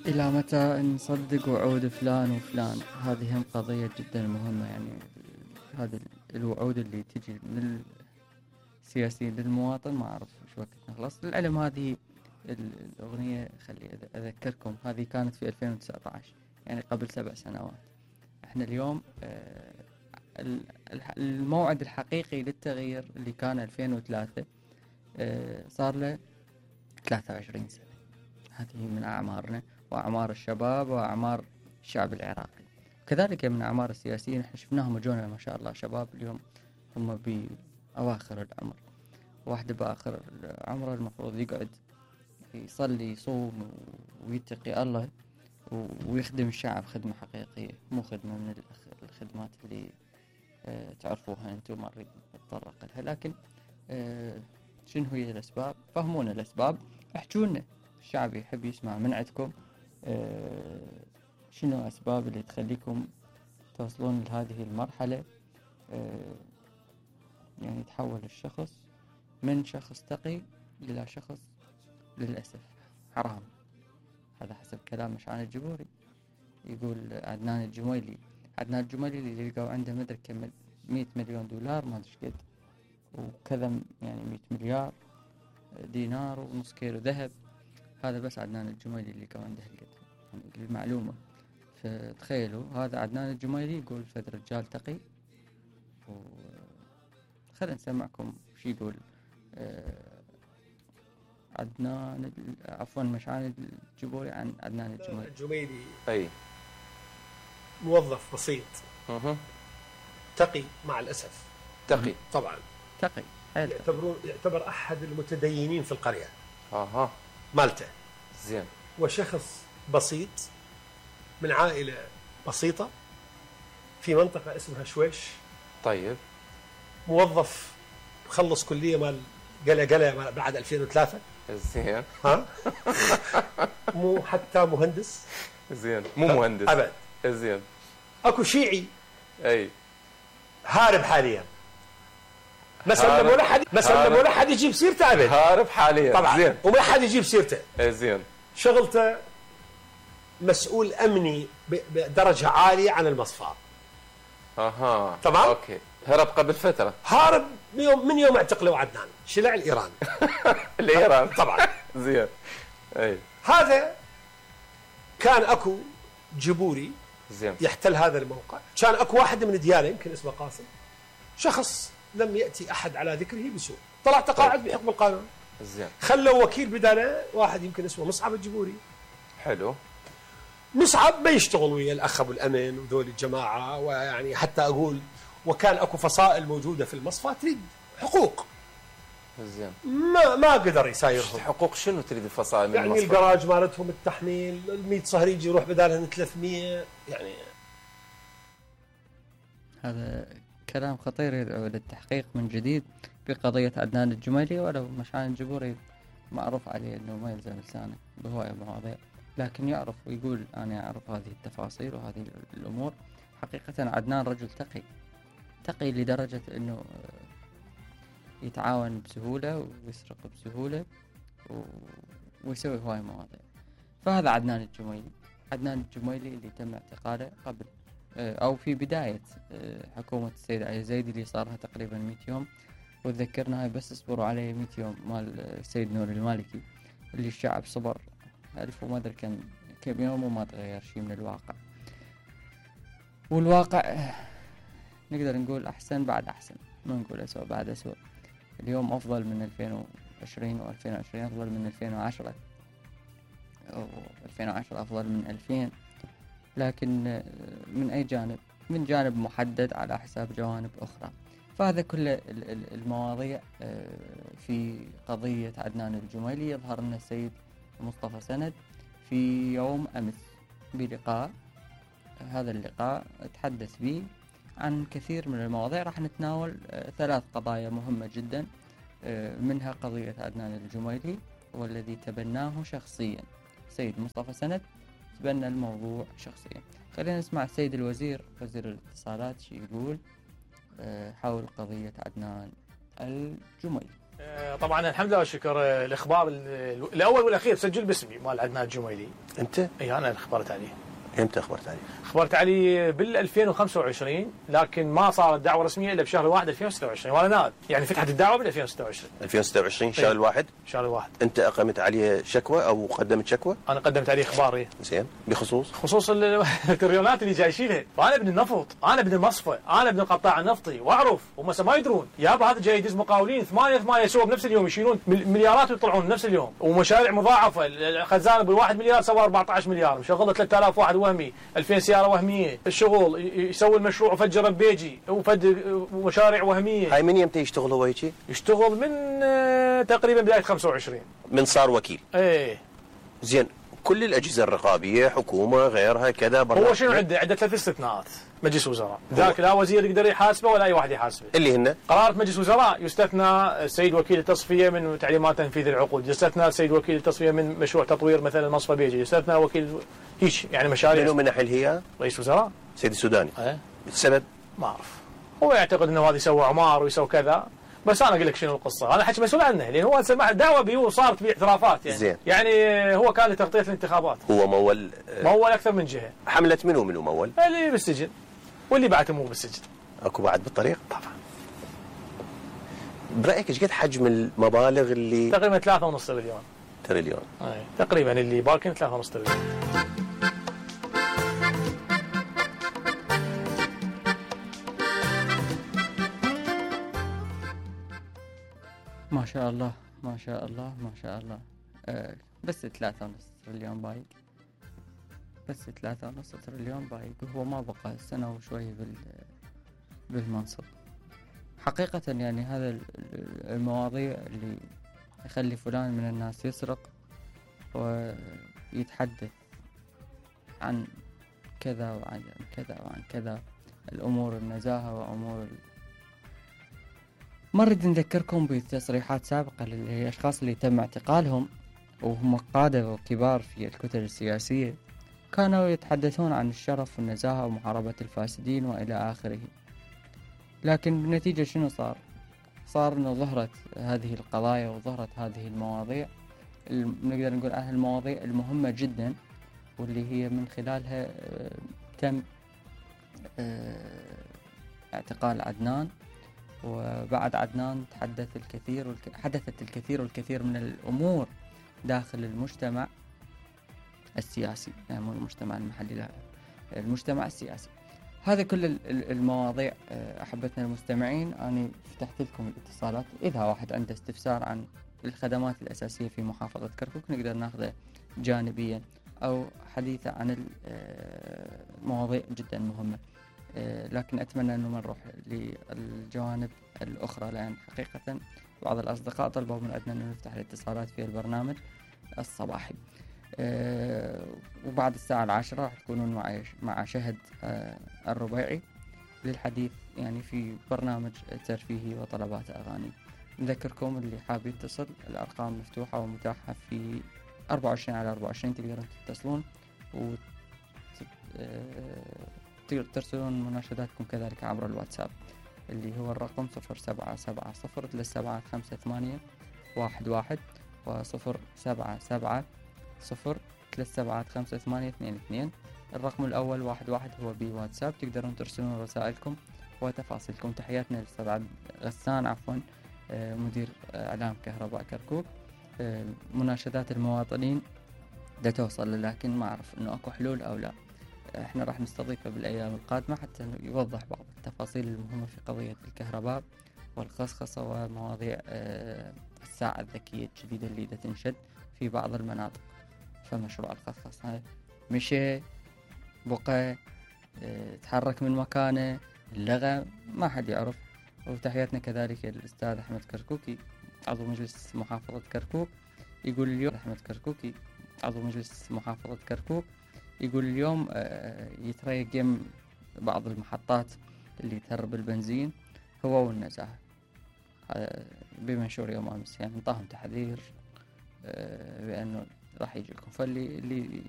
إلى متى نصدق وعود فلان وفلان؟ هذه هم قضية جدا مهمة. يعني هذه الوعود اللي تجي من السياسيين للمواطن ما أعرف شو وقت نخلص. للعلم هذه الأغنية خلي أذكركم هذه كانت في 2019، يعني قبل 7 سنوات. احنا اليوم الموعد الحقيقي للتغيير اللي كان 2003 صار له 23 سنة. هذه من أعمارنا وأعمار الشباب وأعمار الشعب العراقي، كذلك من أعمار السياسيين. احنا شفناهم وجونا ما شاء الله شباب اليوم هم بأواخر العمر. واحد بآخر عمره المفروض يقعد يصلي يصوم ويتقي الله ويخدم الشعب خدمة حقيقية، مو خدمة من الخدمات اللي تعرفوها أنتم ما نريد نتطرق لها. لكن شنو هي الأسباب؟ فهمونا الأسباب، احجونا، الشعب يحب يسمع من عندكم شنو الأسباب اللي تخليكم توصلون لهذه المرحلة، يعني تحول الشخص من شخص تقي إلى شخص للأسف حرام. هذا حسب كلام مشعان الجبوري. يقول عدنان الجميلي اللي لقوا عنده مدري كم 100 مليون دولار ما أدري قد وكذا، يعني 100 مليار دينار ونص كيلو ذهب. هذا بس عدنان الجميلي اللي لقوا عنده هالقد، يعني المعلومة. فتخيلوا هذا عدنان الجميلي يقول فد رجال تقي. خلينا نسمعكم شو يقول عدنان عفوا مشعان الجبوري عن عدنان الجميلي. الجميلي أي موظف بسيط تقي مع الأسف. تقي طبعا تقي يعتبر أحد المتدينين في القرية مالته. زين. وشخص بسيط من عائلة بسيطة في منطقة اسمها شويش. طيب. موظف مخلص كلية مال قلة بعد 2003. زين. مو حتى مهندس. زين. مو مهندس أبد. زين. اكو شيعي اي هارب حاليا، ما سلموا ولا حد يجيب سيرته ابد. هارب حاليا طبعا. زين. وما حد يجيب سيرته. زين. شغلته مسؤول امني بدرجه عاليه عن المصفى. تمام. اوكي. هرب قبل فتره. هارب من يوم اعتقلوا عدنان شلع الايران. الايران طبعا. زين. اي هذا كان اكو جبوري زين. يحتل هذا الموقع. كان اكو واحد من ديانه يمكن اسمه قاسم، شخص لم ياتي احد على ذكره بسوء، طلع تقاعد بحكم القانون. زين. خلوا وكيل بداله واحد يمكن اسمه مصعب الجبوري. حلو. مصعب ما يشتغل ويا الاخ ابو الامن وذول الجماعه، ويعني حتى اقول وكان اكو فصائل موجوده في المصفى تريد حقوق. زين. ما قدر يسايرهم. حقوق شنو تريد الفصائل من يعني المصفى؟ الجراج مالتهم التحميل 100 صهريج يروح بدالهم 300. يعني هذا كلام خطير يدعو للتحقيق من جديد بقضية عدنان الجميلي. ولو مشعان الجبوري معروف عليه أنه ما يلزم لسانه بهواية مواضيع، لكن يعرف ويقول أنا أعرف هذه التفاصيل وهذه الأمور. حقيقة عدنان رجل تقي لدرجة أنه يتعاون بسهولة ويسرق بسهولة ويسوي هواية مواضيع. فهذا عدنان الجميلي اللي تم اعتقاله قبل أو في بداية حكومة السيد علي الزيدي اللي صارها تقريبا 100 يوم. وتذكرنا هاي بس اصبروا عليه 100 يوم مال السيد نور المالكي اللي الشعب صبر 1000 وما أدري كم يوم وما تغير شيء من الواقع. والواقع نقدر نقول أحسن بعد أحسن، ما نقول أسوأ بعد أسوأ. اليوم أفضل من 2020 و2020 أفضل من 2010 أو 2010 أفضل من 2000. لكن من أي جانب؟ من جانب محدد على حساب جوانب أخرى. فهذا كل المواضيع في قضية عدنان الجميلي. يظهر أن السيد مصطفى سند في يوم أمس بلقاء، هذا اللقاء تحدث به عن كثير من المواضيع. راح نتناول 3 قضايا مهمة جدا، منها قضية عدنان الجميلي والذي تبناه شخصيا. السيد مصطفى سند تبنى الموضوع شخصيا. خلينا نسمع السيد الوزير وزير الاتصالات شو يقول حول قضية عدنان الجميلي. طبعا الحمد لله والشكر. الاخبار الاول والاخير سجل باسمي مال عدنان الجميلي. انت؟ اي انا اللي خبرت عليه. امتى اخبرت عليه؟ خبرت عليه بال 2025، لكن ما صارت دعوه رسميه الا بشهر 1 2026 وانا نائب، يعني فتحت الدعوه بال 2026. 2026 شهر الواحد؟ شهر الواحد. انت اقمت عليه شكوى او قدمت شكوى؟ انا قدمت عليه اخبار. زين، بخصوص التريونات اللي جاي يشيلها، وانا ابن النفط، انا ابن المصفى، انا ابن القطاع النفطي واعرف، هم ما يدرون يابا هذا جاي يدز مقاولين 8 سوا بنفس اليوم يشيلون مليارات ويطلعون بنفس اليوم، ومشاريع مضاعفه. الخزانه ب1 مليار سوى 14 مليار، مشغله 3000 واحد وهمي، 2000 سياره وهميه، الشغل يسوي المشروع وفجر بيجي ومشاريع وهميه. هاي من يمتى يشتغل هو هيك؟ يشتغل من تقريبا بدايه 25 من صار وكيل. ايه زين، كل الاجهزه الرقابيه حكومه غيرها كذا هو شنو عنده 3 استثناءات مجلس وزراء، ذاك لا وزير يقدر يحاسبه ولا اي واحد يحاسبه. اللي هن قرارة مجلس وزراء يستثنى السيد وكيل التصفيه من تعليمات تنفيذ العقود، يستثنى السيد وكيل التصفيه من مشروع تطوير مثلا المصفى بيجي، يستثنى وكيل هيك يعني مشاريع. منو من نحل هي؟ رئيس وزراء سيد السوداني. ايه السبب؟ ما اعرف، هو يعتقد انه هذا يسوي عمار ويسوي كذا، بس انا اقول لك شنو القصه، انا حكي مسؤول عنه لان هو سمع دعوه بيه وصارت به اعترافات يعني. زين. يعني هو كان لتغطيه الانتخابات. هو مول مول اكثر من جهه. حمله منو مول؟ اللي بالسجن واللي بعته مو بالسجن. اكو بعد بالطريق؟ طبعا. برايك ايش قد حجم المبالغ اللي تقريبا 3.5 تريليون؟ اي تقريبا اللي باكن 3.5 تريليون. ما شاء الله ما شاء الله ما شاء الله. بس 3.5 تريليون بايق، بس 3.5 تريليون بايق، وهو ما بقى سنة وشوي بالمنصب. حقيقة يعني هذا المواضيع اللي يخلي فلان من الناس يسرق ويتحدث عن كذا وعن كذا وعن كذا، الأمور النزاهة وأمور ما نريد نذكركم بتصريحات سابقة للأشخاص اللي تم اعتقالهم وهم قادة وكبار في الكتل السياسية، كانوا يتحدثون عن الشرف والنزاهة ومحاربة الفاسدين وإلى آخره. لكن بالنتيجة شنو صار؟ صار أنه ظهرت هذه القضايا وظهرت هذه المواضيع، نقدر نقول عنها المواضيع المهمة جدا، واللي هي من خلالها تم اعتقال عدنان. وبعد عدنان حدثت الكثير والكثير من الأمور داخل المجتمع السياسي، يعني مو المجتمع المحلي، لا المجتمع السياسي. هذا كل المواضيع أحبتنا المستمعين. أنا فتحت لكم الاتصالات، إذا واحد عنده استفسار عن الخدمات الأساسية في محافظة كركوك نقدر ناخذه جانبيا، أو حديثة عن المواضيع جدا مهمة. لكن أتمنى أنه ما نروح للجوانب الأخرى، لأن حقيقة بعض الأصدقاء طلبوا من عندنا أنه نفتح الاتصالات في البرنامج الصباحي. وبعد الساعة 10 راح تكونون مع شهد الربيعي للحديث يعني في برنامج ترفيهي وطلبات أغاني. نذكركم اللي حاب يتصل، الأرقام مفتوحة ومتاحة في 24/24، تقدرون تتصلون ترسلون مناشداتكم كذلك عبر الواتساب اللي هو الرقم 0770375811 و0770375822. الرقم الأول 11 هو بواتساب، تقدرون ترسلون رسائلكم وتفاصيلكم. تحياتنا للأستاذ غسان مدير إعلام كهرباء كركوك. مناشدات المواطنين دا توصل، لكن ما أعرف إنه أكو حلول أو لا. احنا راح نستضيفه بالأيام القادمة حتى يوضح بعض التفاصيل المهمة في قضية الكهرباء والخصخصة ومواضيع الساعة الذكية الجديدة اللي دا تنشد في بعض المناطق. فمشروع الخصخصة مشي بقى تحرك من مكانه، اللغة ما حد يعرف. وتحياتنا كذلك الأستاذ أحمد كركوكي عضو مجلس محافظة كركوك، يقول اليوم أحمد كركوكي عضو مجلس محافظة كركوك يقول اليوم يتريق بعض المحطات اللي تهرب البنزين هو والنزاهة بمنشور يوم أمس، يعني انطاهم تحذير بأنه راح يجيكم. فاللي